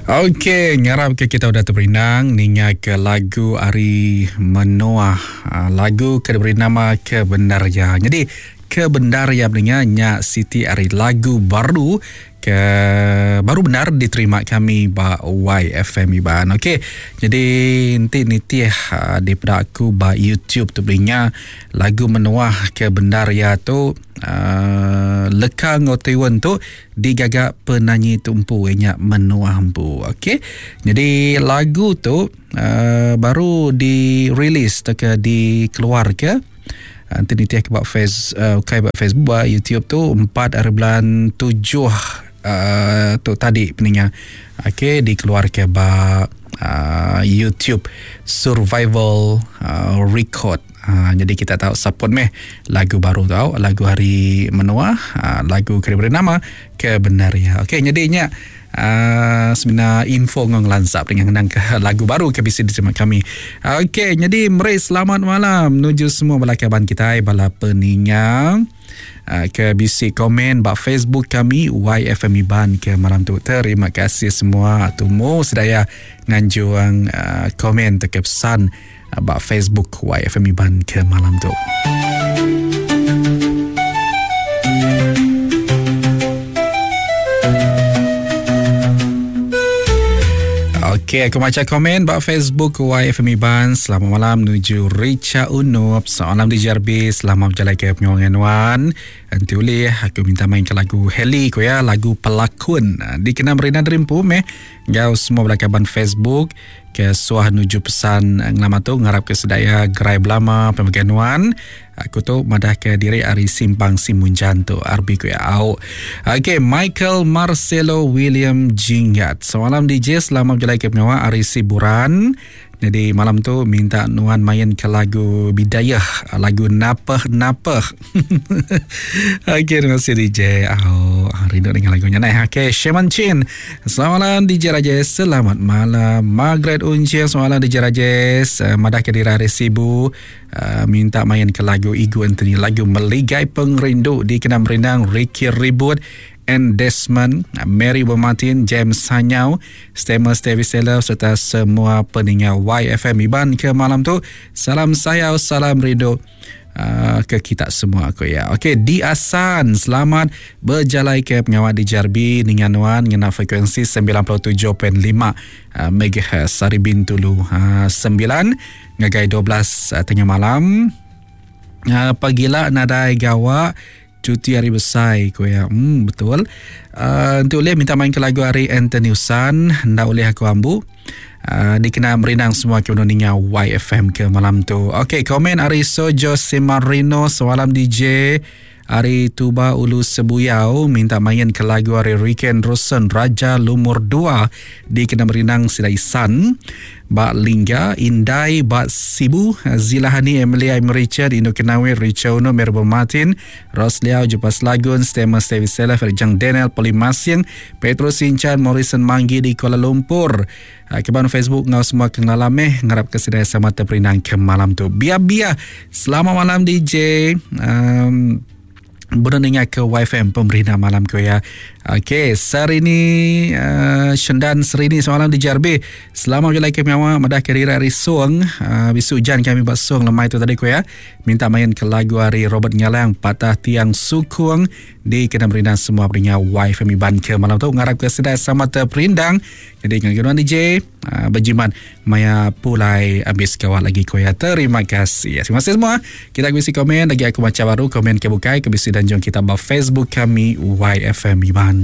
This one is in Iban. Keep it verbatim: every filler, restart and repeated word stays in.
Okey, ngarap ke kita udah terperindang ninga ke lagu ari Menoah, lagu ke diberi nama Kebenarya. Jadi Kebenarya beninga nya siti ari lagu baru ke baru benar diterima kami ba Y F M Iban. Okey, jadi enti nitih uh, daripada aku ba YouTube tu beninga lagu Menoah Kebenarya tu uh, leka ngau tiun tu digaga penyanyi tu empu nya Menoah empu. Okey, jadi lagu tu uh, baru dirilis atau ke dikeluar ke nanti nitih ke bak face uh, kai bak Facebook bak YouTube tu empat hari bulan tujuh uh, tu tadi peninga. Okey, dikeluar ke bak uh, YouTube Survival uh, Record. Uh, jadi kita tahu support meh lagu baru tau, lagu hari Menoah, uh, lagu kena beri nama Kebenarya. Okey, jadinya Uh, sebenarnya info ngong lansap dengan kenang ke lagu baru ke bisi diterima kami. Okey, jadi meri selamat malam menuju semua bala kaban kita bala peninga uh, ke bisi komen ba Facebook kami Y F M Iban ke malam tu. Terima kasih semua tumu sedaya nganjuang uh, komen ke pesan uh, ba Facebook Y F M Iban ke malam tu. Okey, aku baca komen bak Facebook Y F M Iban. Selamat malam menuju Richa Unup. Selamat malam di J R B. Selamat berjalan ke pengawangan Wan. Nanti boleh aku minta main ke lagu Heli ko ya, lagu Pelakon. Dikenal Merina Dreampu meh. Gau semua belakaban Facebook ke suah nuju pesan ngelama tu ngarap ke sedaya gerai belama pemegang Wan. Aku tu madah ke diri ari simpang Simunjan tu R B ku ya. Au. Okey, Michael Marcelo William Jinggat. Semalam D J selamat berjalan ke pengawa ari Siburan. Jadi malam tu minta Nuan main ke lagu Bidayah, lagu Napeh Napeh. Okey, terima kasih D J. Oh, rindu dengan lagunya nah. Okey, Sheman Chin. Selamat malam D J Rajesh. Selamat malam Margaret Uncing. Selamat malam D J Rajesh. Uh, madah ke diri ari Sibu. Uh, minta main ke lagu Igu Anthony, lagu Meligai Pengrindu di Kenam Rindang, Ricky Ribut and Desmond, Mary Bermartin, James Sanyau, Stemer Stevie Seller serta semua pendengar Y F M Iban ke malam tu. Salam sayau, salam rindu uh, ke kita semua aku ya. Okey, di Asan, selamat berjalai ke pengawal di J R B dengan Wan ngena frekuensi sembilan puluh tujuh perpuluhan lima uh, megahertz Sari Bintulu uh, sembilan ngagai dua belas uh, tengah malam. Uh, pagila nadai gawak cuti hari besar ko ya. Hmm, betul. Uh, untuk boleh minta main ke lagu hari Anthony Usan, ndak boleh aku ambu. Uh, dikena merindang semua ke mendengar Y F M ke malam tu. Okey, komen ari Sojo Semarino, semalam D J Ari Tuba Ulu Sebuyau minta main ke lagu hari Riken Rosen Raja Lumur dua di kena merindang Silaisan. Bak Lingga, Indai, Bak Sibu, Zilahani, Emilia, Richard, Indo Kenawi, Richard Uno, Merbo Martin, Ros Liao, Jupas Lagun, Stema Stevi Sela, Ferjang Daniel, Polimasing, Petro Sinchan, Morrison Manggi di Kuala Lumpur. Keban Facebook ngau semua kengalameh ngarap kesedaya sama terperinang ke malam tu. Biar-biar. Selamat malam D J. Um, Berdengar ke Y F M pemerintah malam ko ya. Okey, Serini uh, Shendan Serini semalam di J R B. Selamat berjalan ke pengawa madah kerira hari Suang. Uh, bisu hujan kami buat Suang lemai tu tadi ko ya. Minta main ke lagu hari Robert Ngalang Patah Tiang Sukung di kena merindang semua pendengar Y F M Iban ke malam tu. Ngarap ke sedai sama terperindang. Jadi dengan D J uh, berjimat maya pulai habis kawal lagi ko ya. Terima kasih. Terima kasih semua. Kita bisi komen lagi aku baca baru komen ke bukai ke bisi dan jom kita ba Facebook kami Y F M Iban.